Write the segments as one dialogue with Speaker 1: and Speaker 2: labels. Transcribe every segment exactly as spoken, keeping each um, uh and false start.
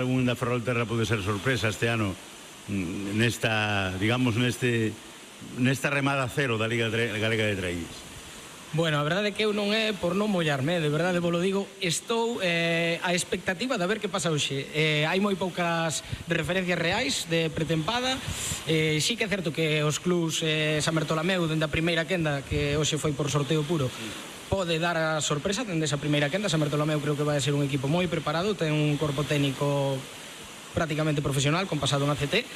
Speaker 1: Segunda Ferrolterra pode ser sorpresa este ano nesta, digamos, neste nesta remada cero da Liga Galega de Traíñas.
Speaker 2: Bueno, a verdade é que eu non é por non mollarme, de verdade vos lo digo, estou eh, a expectativa de ver que pasa hoxe. Eh, hai moi poucas referencias reais de pretempada, eh, sí que é certo que os clubs eh, San Bertolameu, dende a primeira quenda, que hoxe foi por sorteo puro, pode dar a sorpresa dende esa primeira quenda. San Bertolameu creo que vai ser un equipo moi preparado, ten un corpo técnico prácticamente profesional, con pasado en A C T.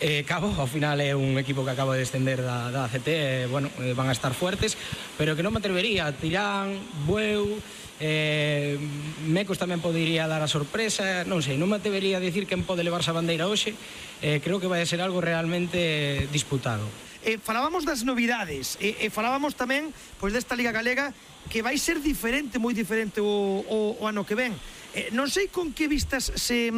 Speaker 2: Eh, Cabo, ao final é un equipo que acaba de descender da, da A C T, eh, bueno, eh, van a estar fuertes, pero que non me atrevería. Tirán, Bueu, eh, Mecos tamén podería dar a sorpresa, non sei, non me atrevería a dicir quen pode levarse a bandeira hoxe. eh, creo que vai a ser algo realmente disputado.
Speaker 3: Eh, falábamos das novidades e eh, eh, falábamos tamén pois desta Liga Galega que vai ser diferente, moi diferente o, o, o ano que ven. eh, non sei con que vistas se,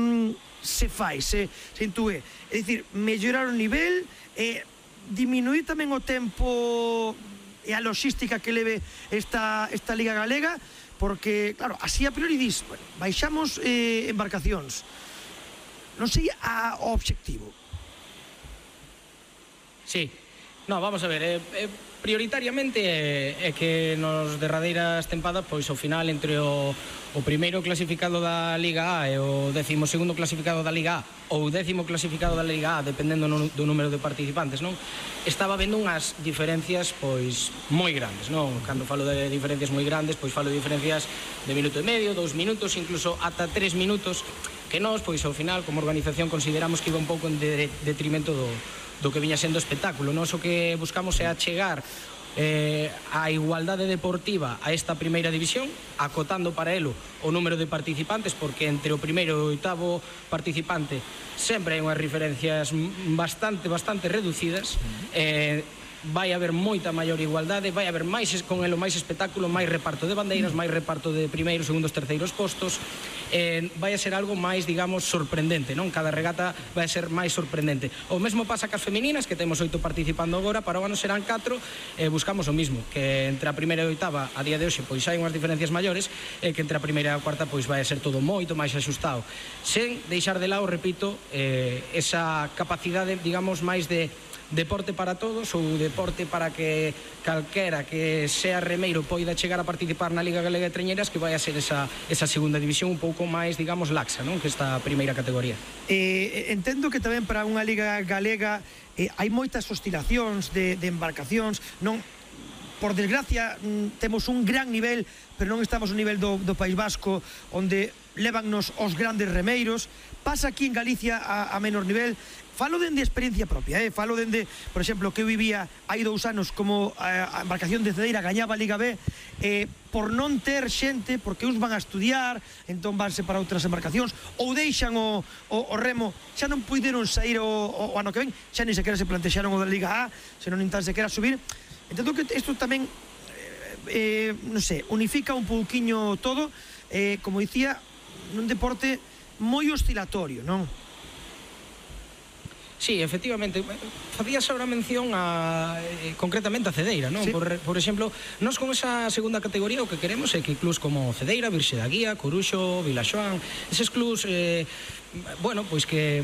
Speaker 3: se fai, se, se intúe, é dicir, mellorar o nivel, eh, diminuir tamén o tempo e a logística que leve esta, esta Liga Galega, porque, claro, así a priori dis, bueno, baixamos eh, embarcacións, non sei a, o obxectivo.
Speaker 2: Sí, no, vamos a ver, eh, eh, prioritariamente é, é que nos derradeiras tempadas, pois ao final entre o, o primeiro clasificado da Liga A e o décimo segundo clasificado da Liga A ou o décimo clasificado da Liga A, dependendo no, do número de participantes, non? Estaba vendo unhas diferencias pois moi grandes, non? Cando falo de diferencias moi grandes, pois falo de diferencias de minuto e medio, dous minutos, incluso ata tres minutos, que nós, pois ao final, como organización, consideramos que iba un pouco en de, detrimento do do que viña sendo espectáculo. Nós o que buscamos é achegar eh, a igualdade deportiva a esta primeira división, acotando para elo o número de participantes, porque entre o primeiro e o oitavo participante sempre hai unhas referencias bastante, bastante reducidas. eh, vai haber moita maior igualdade, vai haber máis con elo máis espectáculo, máis reparto de bandeiras, máis reparto de primeiros, segundos, terceiros postos. Eh, vai a ser algo máis, digamos, sorprendente, non? Cada regata vai a ser máis sorprendente. O mesmo pasa cas femininas, que temos oito participando agora, para o ano serán catro, e eh, buscamos o mismo, que entre a primeira e a oitava a día de hoxe pois hai unhas diferencias maiores, e que entre a primeira e a cuarta pois vai a ser todo moito máis axustado, sen deixar de lado, repito, eh, esa capacidade, digamos, máis de deporte para todos, ou deporte para que calquera que sea remeiro poida chegar a participar na Liga Galega de Trañeiras, que vai a ser esa, esa segunda división un pouco máis, digamos, laxa, non? Que esta primeira categoría.
Speaker 3: Eh, entendo que tamén para unha Liga Galega eh, hai moitas oscilacións de, de embarcacións, non? Por desgracia, temos un gran nivel, pero non estamos no nivel do, do País Vasco, onde levannos os grandes remeiros. Pasa aquí en Galicia a, a menor nivel. Falo dende experiencia propia, eh? Falo dende, por exemplo, que eu vivía hai dous anos como a, a embarcación de Cedeira gañaba a Liga B, eh, por non ter xente, porque uns van a estudiar, entón vanse para outras embarcacións, ou deixan o, o, o remo, xa non puideron sair o, o, o ano que ven, xa ni sequera se plantexaron o da Liga A, senón nin tan sequera subir. Entendo que isto tamén, eh, eh, non sei, unifica un pouquiño todo, eh, como dicía, nun deporte moi oscilatorio, non?
Speaker 2: Sí, efectivamente, facías ahora mención a, eh, concretamente a Cedeira, non? Sí. Por, por exemplo, nós con esa segunda categoría o que queremos é que clubs como Cedeira, Virxe da Guía, Coruxo, Vilaxoán, eses clubs, eh, bueno, pois que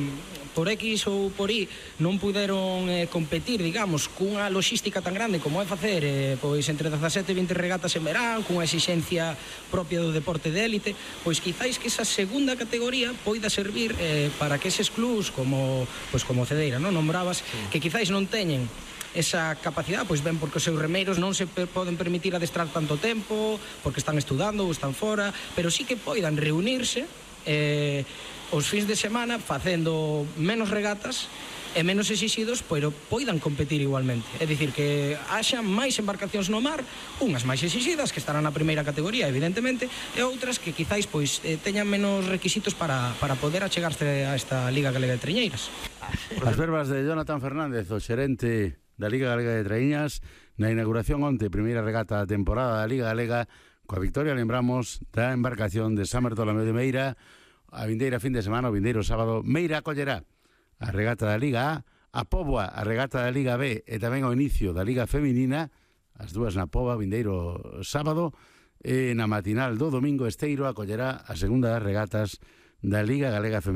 Speaker 2: por X ou por Y non puderon eh, competir, digamos, cunha logística tan grande como é facer eh, pois entre dezasete e vinte regatas en verán, cunha exixencia propia do deporte de élite, pois quizáis que esa segunda categoría poida servir eh, para que eses clubs como, pois como Cedeira, non nombrabas, sí, que quizáis non teñen esa capacidade, pois ben porque os seus remeiros non se poden permitir adestrar tanto tempo, porque están estudando ou están fora, pero sí que poidan reunirse eh, os fins de semana facendo menos regatas e menos exixidos, pero poidan competir igualmente. É dicir, que haxa máis embarcacións no mar, unhas máis exixidas, que estarán na primeira categoría, evidentemente, e outras que quizáis pois eh, teñan menos requisitos para, para poder achegarse a esta Liga Galega de Trañeiras.
Speaker 1: As verbas de Jonathan Fernández, o xerente da Liga Galega de Traíñas, na inauguración onte, primeira regata da temporada da Liga Galega, coa victoria, lembramos, da embarcación de San Bertolameu de Meira. A vindeira fin de semana, o vindeiro sábado, Meira acollerá a regata da Liga A, a Póboa a regata da Liga B e tamén o inicio da Liga Feminina, as dúas na Póboa, vindeiro sábado, e na matinal do domingo Esteiro acollerá a segunda das regatas da Liga Galega Feminina.